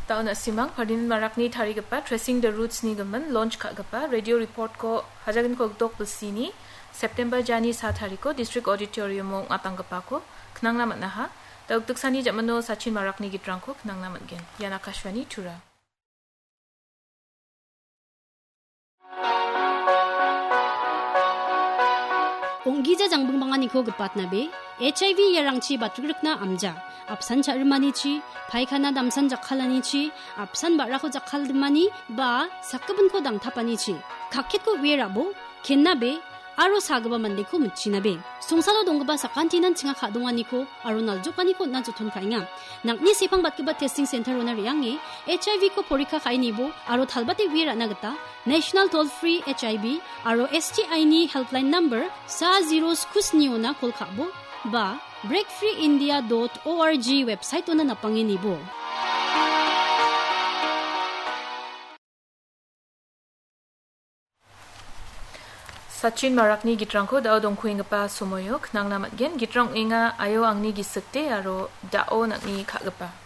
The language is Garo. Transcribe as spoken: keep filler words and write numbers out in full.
Daun Asimang, Pardin Marakni tarigipa Tracing the Roots-ni gimin launch ka·gipa radio report-ko Hajaginko Gdok Bilsini September jani sa tariko District Auditorium-o ong·atanggipako knangna man·aha. Da ukdiksani jamino Sachin Marakni gitrangko knangna man·gen. Ian Akashvani Tura. Ong·gija jangbingbanganiko gipatnabe, H I V iarangchi batrikrikna amja, apsan cha·rimanichi, paikana damsan jakkalanichi, apsan ba·rako jakkalmani, ba sakgipinko dangtapanichi, kakketko uie rabo, kennabe, aro sagipa mandeko mitchinabe. Songsalo donggipa sakantinan chinga ka·donganiko aro naljokaniko on·na joton ka·enga. Nang·ni sepang batgipa testing center-ona re·ange H I V-ko porikka ka·e nibo aro talbate uie ra·na gita National Toll Free H I V aro S T I-ni helpline number sa zero sku sni-ona call ka·bo ba break free india dot org website-ona napange nibo. Sachin Marakni gitrangko dao dongkuenggipa somoio knangna man·gen. Gitrang ong·enga Ayo Angni Gisikde aro Dao Nang·ni Ka·gipa.